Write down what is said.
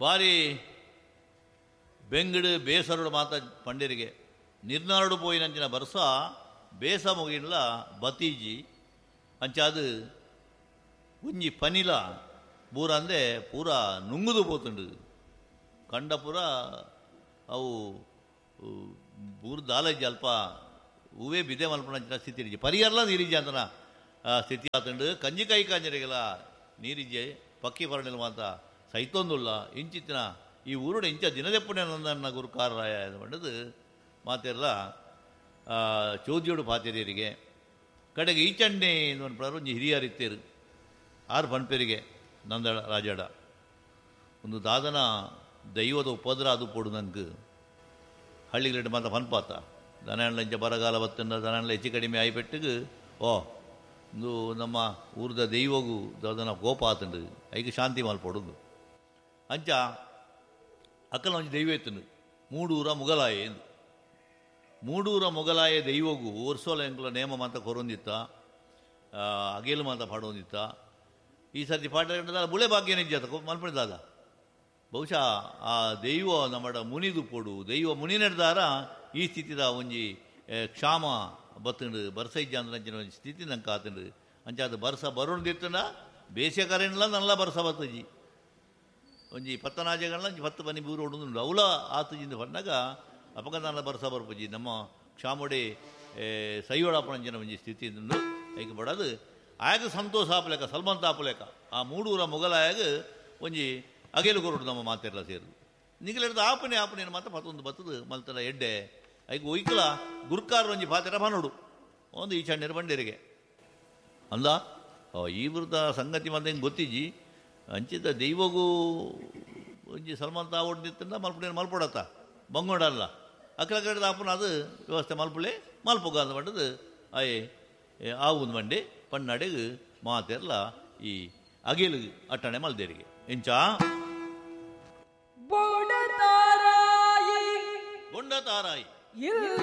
ಬಾರಿ ಬೆಂಗಡು ಬೇಸರುಡು ಮಾತ ಪಂಡಿರಿಗೆ ನಿರ್ನಾಡು ಪೋಯಿನಂಚಿನ ಬರ್ಸ ಬೇಸ ಮುಗಿನ್ಲ ಬತೀಜಿ ಅಂಚಾದು ಒಂಜಿ ಪನಿಲ ಬೂರಂದೆ ಪೂರ ನುಂಗುದು ಪೋತುಂಡು ಕಂಡ ಪೂರ ಅವು ಬೂರು ದಾಲಜ್ಜಿ ಅಲ್ಪ ಹೂವೇ ಬಿದೆ ಮಲ್ಪನಂಚಿನ ಸ್ಥಿತಿ ಇರಿಜಿ ಪರಿಯರ್ಲ ನೀರಿಜ್ಜಿ ಅಂತನ ಸ್ಥಿತಿ ಆತುಂಡು ಕಂಜಿಕಾಯಿ ಕಾಂಜರಿಗೆಲ್ಲ ನೀರಿಜ್ಜೆ ಪಕ್ಕಿ ಪರಣಿಲ್ ಮಾತ ಸೈತೊಂದುಲ್ಲ ಇಂಚಿತ್ತಿನ ಈ ಊರುಡು ಇಂಚ ದಿನದೆಪ್ಪುಣೆ ನನ್ನ ಗುರುಕಾರರಾಯ ಪಂಡದು ಮಾತೆಲ್ಲ ಚೋದ್ಯೋಡು ಪಾತೆರಿಯರಿಗೆ ಕಡೆಗೆ ಈಚಣ್ಣೆ ಪಂಡ್ರೆ ಒಂಜಿ ಹಿರಿಯರಿತ್ತೇರು ಆರು ಪನ್ಪೆರಿಗೆ ನಂದಡ ರಾಜಡ ಒಂದು ದಾದನ ದೈವದ ಉಪದ್ರ ಅದು ಪೋಡು ನಂಗೆ ಹಳ್ಳಿಗಳಿಟ್ಟು ಮಾತ ಪನ್ಪಾತ ದನ ಇಂಚ ಬರಗಾಲ ಬತ್ತಂಡ ದನ ಹೆಚ್ಚು ಕಡಿಮೆ ಆಯಿಪೆಟ್ಟಿಗೆ ಓ ಒಂದು ನಮ್ಮ ಊರ್ದ ದೈವಗೂ ದಾದನ ಕೋಪ ಆತಂಡು ಐಕ್ ಶಾಂತಿ ಮಲ್ಪೊಡುಂದು ಅಂಚ ಅಕ್ಕನ ಒಂಜಿ ದೈವ ಇತ್ತಂಡು ಮೂಡೂರ ಮುಗಲಾಯ ಎಂದು ಮೂಡೂರ ಮೊಗಲಾಯ ದೈವಗೂ ವರ್ಷೋಲ ಎಂಕುಲ ನೇಮ ಮಾತ ಕೊರೊಂದಿತ್ತ ಅಗೇಲು ಮಾತ ಪಾಡೊಂದಿತ್ತ ಈ ಸರ್ತಿ ಪಾಠ ಬುಳೆ ಭಾಗ್ಯ ನಿಜ ಮಲ್ಪಣಿ ದಾದ ಬಹುಶಃ ಆ ದೈವ ನಮ್ಮಡ ಮುನಿದು ಪೊಡು ದೈವ ಮುನಿ ನಡೆದಾರ ಈ ಸ್ಥಿತಿದ ಒಂಜಿ ಕ್ಷಾಮ ಬತ್ತಂಡು ಬರ್ಸ ಇಜ್ಜ ಅಂದ್ರೆ ಒಂಜಿ ಸ್ಥಿತಿ ನಂಗೆ ಆತಂಡು ಅಂಚಾದ ಬರ್ಸ ಬರೋಣ್ದಿತ್ತಂಡ ಬೇಸಿಗೆ ಕರೆಂಡ್ಲ ನಲ್ಲ ಬರ್ಸ ಬತ್ತಜಿ ಒಂಜಿ ಪತ್ತನಾಜೆಗಳನ್ನ ಒಂಜಿ ಪತ್ತು ಪನಿ ಬೂರು ಹೊಡೋದುಂಡು ಅವಲ ಆತಜಿಂದ ಪನ್ನಾಗ ಅಪಗದಾನ ಬರ್ಸ ಬರ್ಪುಜಿ ನಮ್ಮ ಕ್ಷಾಮೊಡೆ ಸೈಯೋಡಪ್ಪನಂಚಿನ ಒಂಜಿ ಸ್ಥಿತಿ ಉಂಡು ಐಕ್ ಬಡದು ಆಯಾಗ ಸಂತೋಷ ಆಪಲೇಕ ಸಲ್ಮಂತ ಆಪಲೇಕ ಆ ಮೂಡೂರ ಮೊಗಲಾಯಾಗ ಒಂಜಿ ಅಗೇಲು ಕೊರಡು ನಮ್ಮ ಮಾತೆಲ್ಲ ಸೇರುದು ನಿಗಲೆಡ್ದು ಆಪನೆ ಆಪನೆ ಮಾತ್ರ ಪತ್ತೊಂದು ಬತ್ತದು ಮಲ್ತಲ ಎಡ್ಡೆ ಐಕ್ ಒಯ್ಕಲ ಗುರ್ಕಾರ ಒಂಜಿ ಪಾತೆರ ಬನೋಡು ಒಂದು ಈ ಚಣ್ಣೀರು ಬಂಡೇರಿಗೆ ಅಂದ ಈ ವೃತ್ತ ಸಂಗತಿ ಮಾತ್ರ ಹಿಂಗೆ ಗೊತ್ತಿಜ್ಜಿ ಅಂಚಿತ ದೈವಗೂ ಒಂಜಿ ಸಲ್ಮಂತ ಆವಡ್ದಿತ್ತಂದ ಮಲ್ಪುಡೇನು ಮಲ್ಪೊಡತ್ತ ಬಂಗೋಡಲ್ಲ ಅಕ್ಕಲ ಕಡೆದ ಅಪ್ಪನ ಅದು ವ್ಯವಸ್ಥೆ ಮಲ್ಪುಳೆ ಮಲ್ಪುಗ ಅಂದ ಪಂಡದು ಅಯ್ಯೆ ಆವುಂದು ಮಂಡಿ ಪನ್ನಡೆಗು ಮಾತೆರ್ಲ ಈ ಅಗೇಲು ಅಟ್ಟಣೆ ಮಲ್ದೇರಿಗೆ ಎಂಚ ಬೊಂಡ ತಾರಾಯಿ ಬೊಂಡ ತಾರಾಯಿ ಇಲ್ಲ.